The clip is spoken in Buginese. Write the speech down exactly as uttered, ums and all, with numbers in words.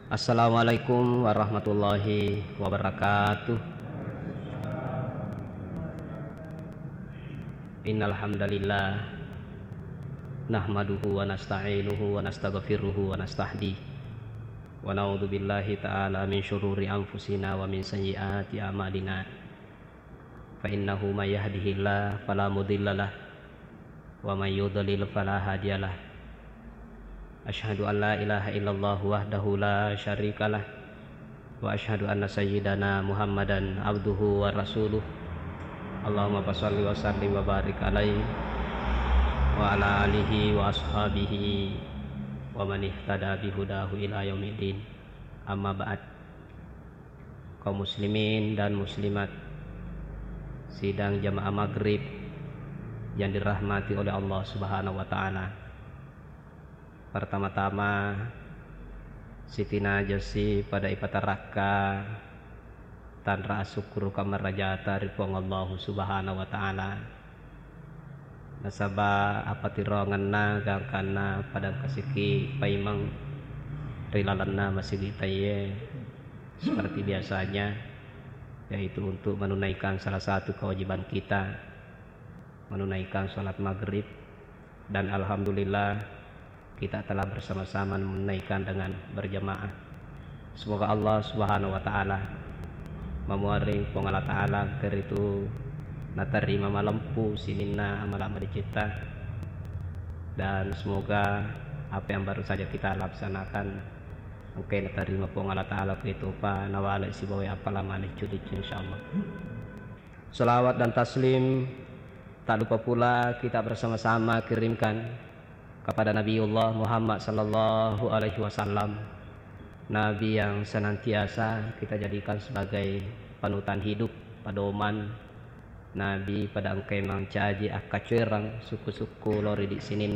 Assalamualaikum warahmatullahi wabarakatuh. Innal hamdalillah, nahmaduhu wa nasta'inuhu wa nastaghfiruhu wa nastahdi, wa na'udzu billahi ta'ala min syururi anfusina wa min sayyiati a'malina. Fa innahu may yahdihillah fala mudhillalah, wa may yudlil fala hadiyalah. Asyhadu an la ilaha illallah wahdahu la syarikalah, wa asyhadu anna sayyidana Muhammadan abduhu wa rasuluh. Allahumma fasalli wa sallim wa barik alaihi wa ala alihi wa ashabihi wa man ihtada bihudahu ila yaumiddin. Amma ba'd. Kaum muslimin dan muslimat, sidang jamaah maghrib yang dirahmati oleh Allah Subhanahu wa Ta'ala. Pertama-tama, sitinaja si pada ipatarakka tanra asukkuruka marajata ri Puang Allahu Subhanahu wa Ta'ala. Nasaba apatirongenna gangkanna pada engkasiki paimeng ri lalenna masigitaiye seperti biasanya, yaitu untuk menunaikan salah satu kewajiban kita, menunaikan salat maghrib, dan alhamdulillah kita telah bersama-sama menunaikan dengan berjamaah. Semoga Allah Subhanahu wa Ta'ala, mamuareng Puang Allah Ta'ala, engka ritu natarima malempu sininna amala madecetta, dan semoga apa yang baru saja kita laksanakan engka natarima Puang Allah Ta'ala, ketopa nawale sibawa appala maleccu-leccu, insyaallah. Salawat dan taslim tak lupa pula kita bersama-sama kirimkan kepada Nabiullah Muhammad sallallahu alaihi wasallam, Nabi yang senantiasa kita jadikan sebagai panutan hidup, pedoman. Nabi pada engkai mancaji akkacoereng sukku-sukku lori di sininna